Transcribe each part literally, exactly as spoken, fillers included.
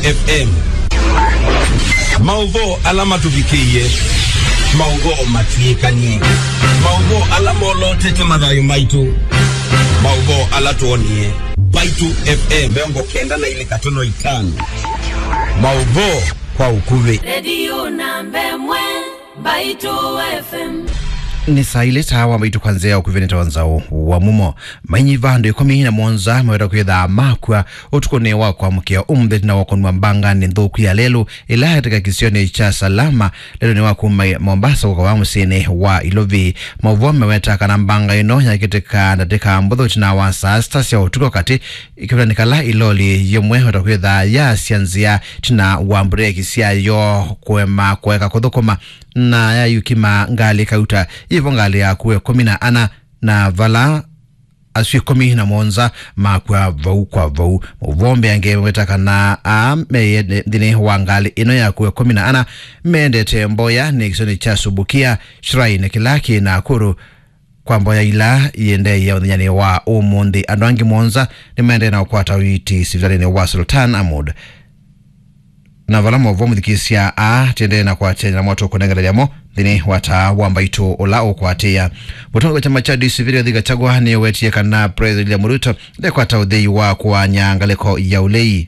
F M. Maũvoo ala matũvikĩie. Maũvoo matw'ĩkanie. Maũvoo ala molotete mathayũ maitũ. Maũvoo ala twonie. Mbaitũ F M mĩongo kenda na ilĩ katono itano. Maũvoo kwa ũkuvĩ. Redio namba ĩmwe, Mbaitũ F M. Nĩ saa ilĩ taa wa Mbaitũ kwa nzĩa ya ũkuvĩ nĩ ta wa nzaũ wa mumo. Mainyiva andũ ĩkũmi na mũonza meweta kwĩthaa makw'a ũtukũnĩ wa kwamũkĩa ũmũnthĩ ĩtina wa kũnwa mbanganĩ nthũku ya lelũ ĩla yatĩka kĩsionĩ kya Salama lelũnĩ wa kuma Mombasa kũka wa mũsyĩnĩ wa Ilovi. Maũvoo meweta kana mbanga ĩno yakĩtĩka ndatĩka mbũthũ ĩtina wa saa sita sya ũtukũ katĩ, ĩkĩvĩlanĩ kala ĩloli yĩmwe weta kwĩthaa yaasya nzĩa ĩtina wa mbureki syayo kũema kũeka kũthũkũma na yayukima ngalĩ kauta yĩvo ngalĩ yakuwa ĩkũmi na ana na vala asu ĩkũmi na mũonza makw'a vau kwa vau. Maũvoo mbeange maweta kana aa me nthĩnĩ wa ngalĩ ĩno yakuwa ĩkũmi na ana meendete mboya nĩ kĩsionĩ kya Subukia Shrine kĩla kĩ Nakuru kwa mboya ila iendeea mũthenyanĩ wa ũmũnthĩ. Andũ angĩ mũonza nĩmaendee na kũkwata ũiiti sivitalĩnĩ wa Sultan Ahmud. Na vala maũvoo mũthikĩsya aa, tĩendee na kwatĩanĩa na motũkũnenganĩlya mo nthĩnĩ wa taa wa Mbaitũ ũla ũkwatĩĩa. Mũtongoi wa kyama kya D C P Rigathi Gachagua nĩwetie kana President William Ruto ndekwata ũthei wa kũaany'a ngalĩko ya ũlei.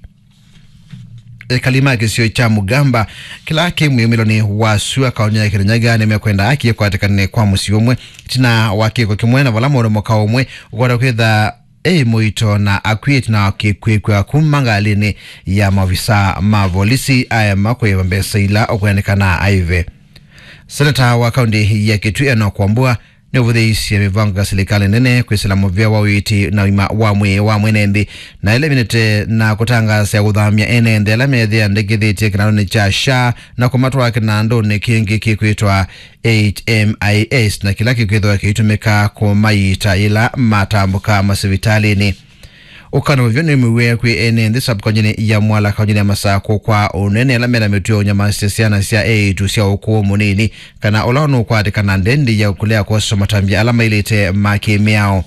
Ekali ma kĩsio kya Mugamba kĩla kĩ mwĩumĩlonĩ wa sua kaũnĩ ya Kirinyaga nĩmekwenda haki ĩkwatĩkane kwa mũsyĩ ũmwe ĩtina wa kĩko kĩmwe na vala mũndũ mũka ũmwe ũkwata kwĩtha e mũito na akw'ĩte na kwĩkw'a kuma ngalĩnĩ ya maovisa ma volisi aema kũĩva mbesa ila ũkwendekana aive. Seneta wa kaũntĩ ya Kitui Enock Wambua nĩũvũthĩĩisye mĩvango ya silikalĩ nene kwĩsĩla mũvĩa wa ũiiti na ũima wa mwĩĩ wa mwene nthĩ, na ĩla ĩminĩte na kũtangaasa ya kũthamya ene nthĩ ala methĩa ndĩkĩthĩtye kĩnandũnĩ kya SHA na kũmatwaa kĩnandũnĩ kĩngĩ kĩkwĩtwa H M I S, na kĩla kĩkwĩthĩwa kĩitũmĩka kũmaita yĩla matambũka masivitalĩnĩ. Ũkano ũvyũ nĩ mwĩw'ĩe kwĩ ene nthĩ sub-kauntinĩ ya Mwala, kauntinĩ ya Masakũ kwa ũnene ala mena mĩtuo ya ũnyamasya syana sya eĩtu sya ũkũũ mũnini, kana ũla nũkwatĩkana ndendi ya kũlea kwoswa matambya ala mailĩte ma kĩ-mĩao.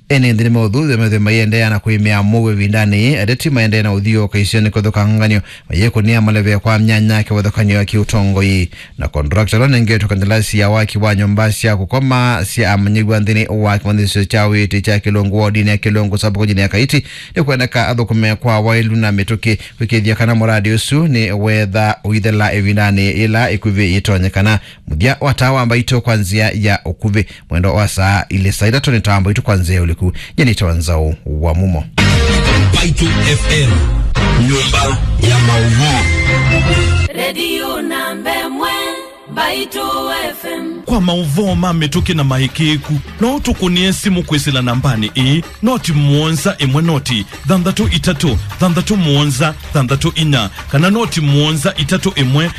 Ene nthĩ nĩmeũthũthw'a methĩwe maiendeea na kũĩmĩa mũuo ĩvindanĩ yĩĩ, ateti maendee na ũthiũũka isionĩ kũthũka nganyo, mayĩkũnĩa maleve kwa myanya kĩvathũkany'o ya kĩũtongoi. Na contractor ũla ũnengetwe kandalasi ya waki wa nyũmba sya kũkoma sya amanyĩw'a nthĩnĩ wa kĩmanyĩsyo kya ũiiti kya Kĩlũngũ wodinĩ ya Kĩlũngũ sub-kauntinĩ ya Kaiti nĩkwendeka athũkũme kwa waĩlu na mĩtũkĩ kwĩkĩĩthya kana mũradi ũsu nĩ wetha ũithela ĩvindanĩ yĩla ĩkuvĩ yĩtonyekana. Mũthya wa taa wa Mbaitũ kwa nzĩa ya ũkuvĩ. Mwendo wa saa ilĩ saa itatũ nĩ taa wa Mbaitũ kwa nzĩa ya ũliku. Nyie nĩtawa Nzaũ wa Mumo. Mbaitũ F M, nyũmba ya maũvoo. Redio namba ĩmwe, Mbaitũ F M. Kwa maũvoo ma mĩtũkĩ na maĩkĩĩku, no ũtũkũnĩe simũ kwĩsĩla nambanĩ ĩĩ, noti mũonza ĩmwe noti thanthatũ itatũ thanthatũ mũonza thanthatũ inya, kana noti mũonza itatũ ĩmwe